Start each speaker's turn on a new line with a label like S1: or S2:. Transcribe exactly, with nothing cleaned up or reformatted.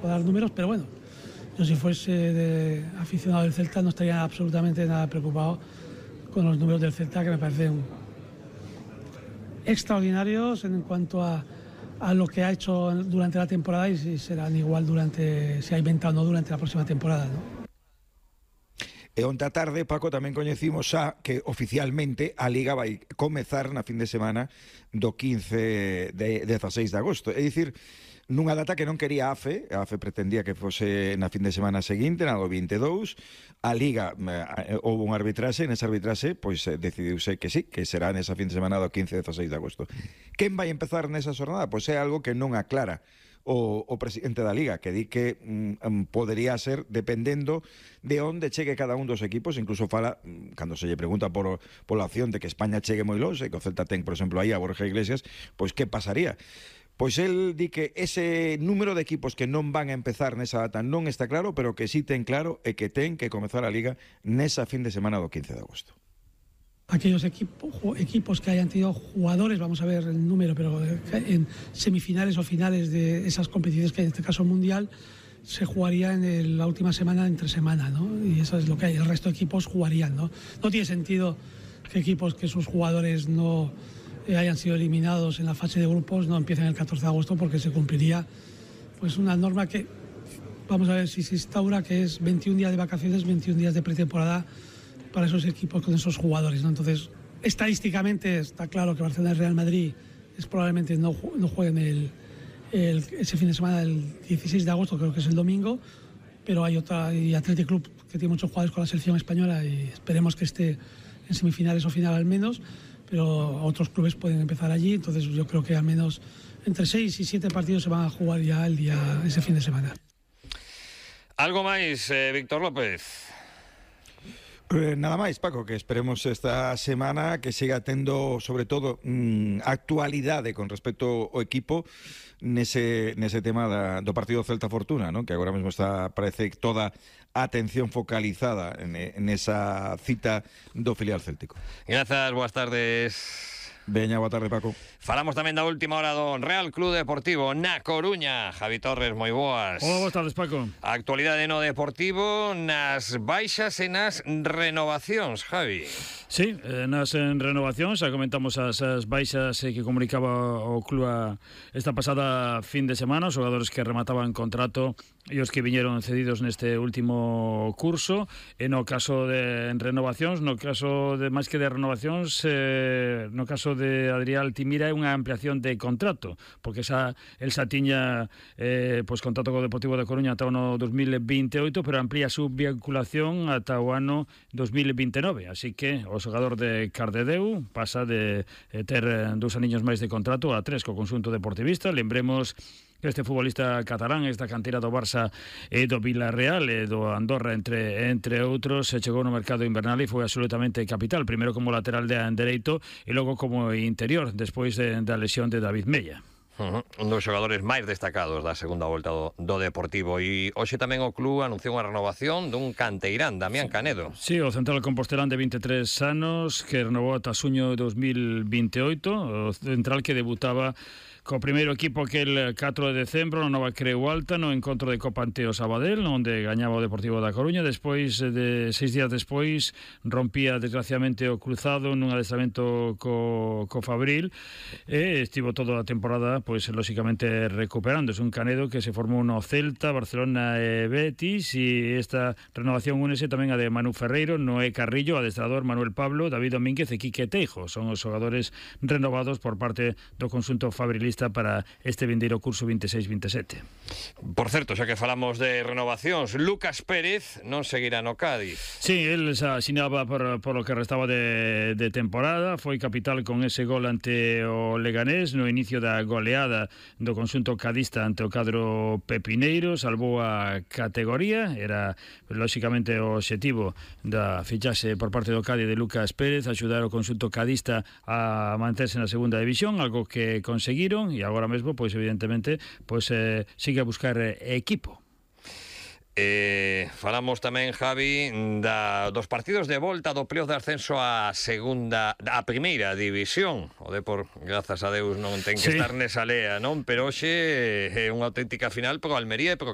S1: pueda dar números, pero bueno, yo si fuese de aficionado del Celta no estaría absolutamente nada preocupado con los números del Celta, que me parecen extraordinarios en cuanto a, a lo que ha hecho durante la temporada, y si serán igual durante, si ha inventado o no durante la próxima temporada, ¿no?
S2: E onte a tarde, Paco, tamén coñecimos xa que oficialmente a Liga vai comezar na fin de semana do quince de dezasseis de agosto. É dicir, nunha data que non quería a AFE, a AFE pretendía que fose na fin de semana seguinte, na do vinte e dous, a Liga eh, houve un arbitraxe, nesa arbitraxe, pois eh, decidiuse que sí, que será nesa fin de semana do quince de dezasseis de agosto. Quen vai empezar nesa xornada? Pois é algo que non aclara o, o presidente da Liga, que di que mm, podería ser dependendo de onde chegue cada un dos equipos. Incluso fala, cando se lle pregunta por, por la opción de que España chegue moi longe, que o Celta ten, por exemplo, aí a Borja Iglesias, pois que pasaría? Pois el di que ese número de equipos que non van a empezar nesa data non está claro, pero que sí ten claro e que ten que comezar a Liga nesa fin de semana do quince de agosto.
S1: Aquellos equipo, equipos que hayan tenido jugadores, vamos a ver el número, pero en semifinales o finales de esas competiciones, que en este caso mundial, se jugaría en el, la última semana, entre semana, ¿no? Y eso es lo que hay. El resto de equipos jugarían, ¿no? No tiene sentido que equipos que sus jugadores no eh, hayan sido eliminados en la fase de grupos no empiecen el catorce de agosto, porque se cumpliría pues una norma que, vamos a ver si se instaura, que es veintiún días de vacaciones, veintiún días de pretemporada para esos equipos con esos jugadores, ¿no? Entonces, estadísticamente está claro que Barcelona y Real Madrid es probablemente no, no jueguen el, el, ese fin de semana del dieciséis de agosto, creo que es el domingo, pero hay otra, y Athletic Club, que tiene muchos jugadores con la selección española, y esperemos que esté en semifinales o final al menos, pero otros clubes pueden empezar allí. Entonces yo creo que al menos entre seis y siete partidos se van a jugar ya el día, ese fin de semana.
S3: Algo máis, eh, Víctor López?
S2: Eh, nada máis, Paco, que esperemos esta semana que siga tendo, sobre todo, mmm, actualidade con respecto ao equipo nese, nese tema da, do partido Celta Fortuna, ¿no? Que agora mesmo está, parece, toda a atención focalizada en, en esa cita do filial céltico.
S3: Grazas, boas tardes.
S2: Veña, boa tarde, Paco.
S3: Falamos tamén da última hora do Real Club Deportivo na Coruña. Javi Torres, moi boas.
S4: Hola, boas tardes, Paco.
S3: A actualidade no Deportivo, nas baixas e nas renovacións, Javi.
S4: Sí, eh, nas en renovacións, xa comentamos as, as baixas eh, que comunicaba o club a, esta pasada fin de semana, os xogadores que remataban contrato e os que viñeron cedidos neste último curso. E no caso de en renovacións, no caso de máis que de renovacións, eh, no caso de Adrián Altimira é unha ampliación de contrato, porque xa el xa tiña eh, pois contrato co Deportivo da Coruña ata o ano dos mil vinte e oito, pero amplía a súa vinculación ata o ano dos mil vinte e nove, así que o xogador de Cardedeu pasa de eh, ter dous aniños máis de contrato a tres co conxunto deportivista. Lembremos que este futbolista catalán, esta cantera do Barça e do Villarreal e do Andorra, entre entre outros, se chegou no mercado invernal e foi absolutamente capital, primeiro como lateral de dereito e logo como interior, despois de, da lesión de David Mella.
S3: Uh-huh. Un dos xogadores máis destacados da segunda volta do, do Deportivo. E hoxe tamén o club anunciou unha renovación dun canteirán, Damián Canedo.
S4: Sí, o central compostelán de vinte e tres anos, que renovou ata xuño dos mil vinte e oito, o central que debutaba co primeiro equipo aquel catro de decembro na Nova Creu Alta no encontro de Copa ante o Sabadell, onde gañaba o Deportivo da Coruña. Despois de seis días despois rompía desgraciadamente o cruzado nun adestramento co, co Fabril e estivo toda a temporada pois lóxicamente recuperándose. Un Canedo que se formou no Celta, Barcelona e Betis, e esta renovación únese tamén a de Manu Ferreiro, Noé Carrillo, adestrador Manuel Pablo, David Domínguez e Quique Teijo. Son os xogadores renovados por parte do conxunto fabrilista para este vindeiro curso vinte e seis vinte e sete.
S3: Por certo, xa que falamos de renovacións, Lucas Pérez non seguirá no Cádiz.
S4: Sí, él xa asinaba por, por lo que restaba de, de temporada, foi capital con ese gol ante o Leganés no inicio da goleada do conxunto cadista ante o cadro pepineiro, salvou a categoría, era lóxicamente o obxectivo da fichaxe por parte do Cádiz de Lucas Pérez, axudar o conxunto cadista a manterse na segunda división, algo que conseguiron. E agora mesmo, pois evidentemente, pois eh, sigue a buscar eh, equipo.
S3: Eh, falamos tamén, Javi, da, dos partidos de volta do playoff de ascenso a segunda, a primeira división. O Depor, grazas a Deus, non ten que
S4: Sí.
S3: estar nesa lea, non? Pero hoxe é unha auténtica final pro Almería e pro